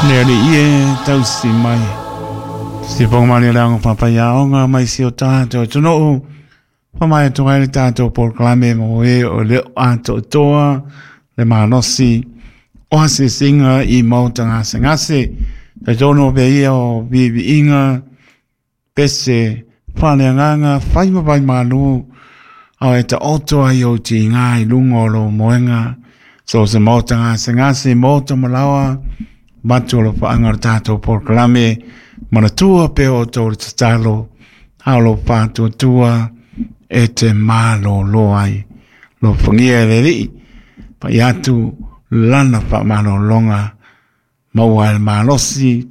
Le Alii e tausi mai. Se fofoga malie o le aoga faafaiaoga mai si o tatou atunuu. Faamaea atu ai le tatou polokalame mo e o le o atoatoa le malosi o asiasiga i maota gasegase. Talitonu o pea ia o viiviiga, pese, faaleagaga, fai ma vaimalu, ao e taoto ai ou tiga i luga o lou moega. So se maota gasegase, maota malaoa, matu o alofaaga o le tatou polokalame, manatua pea outou le tatalo, a o lou faatuatua e te malōlō ai. Alofagia e le Alii, pai atu lana faamalologa, maua ai le malosi,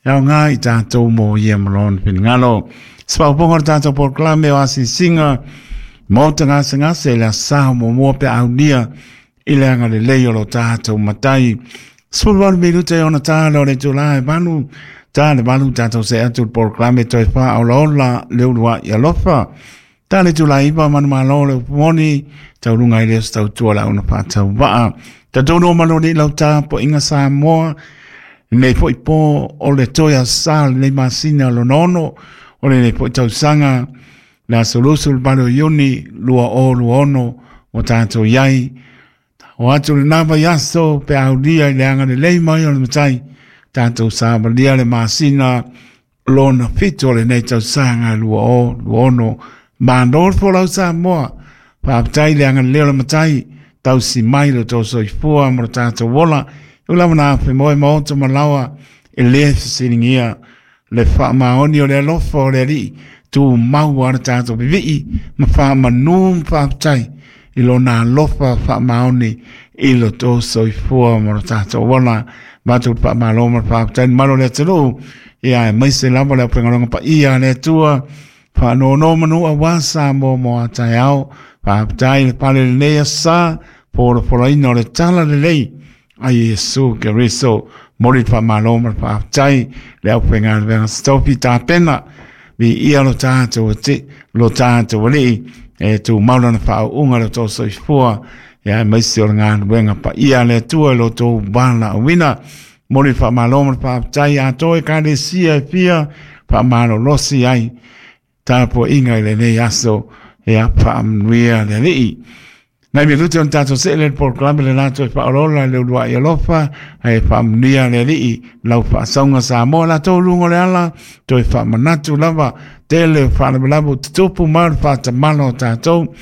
e aoga i tatou mo ia ma lona finagalo. Se faaopoopoga o le tatou polokalame o asiasiga, maota gasegase i le aso Sa muamua pe a aulia i le agalelei o lo tatou Matai. 18 minute e ona tala o le itula e 8, ta le 8 tatou see atu i le polokalame toe faaolaola le uluai alofa. Ta le itula e 9 manumalo le upu moni, tauluga ai le o se tautua le auna faatauvaa. Talitonu o malu alii lau tapuaiga Samoa, lenei foi po o le toe aso Sa o lenei masina lona ono, o lenei foi tausaga, le aso 28 o Iuni 2026 ua tatou i ai. O atu lena vaiaso pe a aulia i le agalelei mai o le Matai, tatou savalia le masina lona 7 o lenei tausaga 2026. Malo le folau Samoa, faafetai le agalelei o le Matai, tausi mai lo outou soifua ma lo tatou ola. E ui lava na afe moe maota ma laoa, e le fesiligia le faamaoni o le alofa o le Alii, tumau lava le tatou vivii ma faamanu ma faafetai i lona alofa faamaoni i lo outou soifua ma lo tatou ola. Matou te faamalo ma le faafetai i le mamalu o le atunuu, ia aemaise lava le aufaigaluega paia a le Atua, faanonomanu aua Samoa mo a taeao. Faafetai le pale lenei aso Sa, folafolaina o le tala lelei a Iesu Keriso. Momoli le faamalo ma le faafetai le aufaigaluega sitofi tapena. Viia lo tatou ati, lo tatou Alii, e tumau lana faauuga i lo outou soifua, ia aemaise o le galuega paia a le Atua i lo outou valaauina. Momoli le faamalo ma le faafetai atoa Ekalesia e fia faamalolosi ai tapuaiga i lenei aso, ia faamanuia le Alii. Nai minute ona tatou see lea i le polokalame le latou e faaolaola le uluai alofa, ae faamanuia le Alii lau faasauga Samoa latou luga o le ala, toe faamanatu lava tele o faalavelave ua tutupu ma le faatamala o tatou.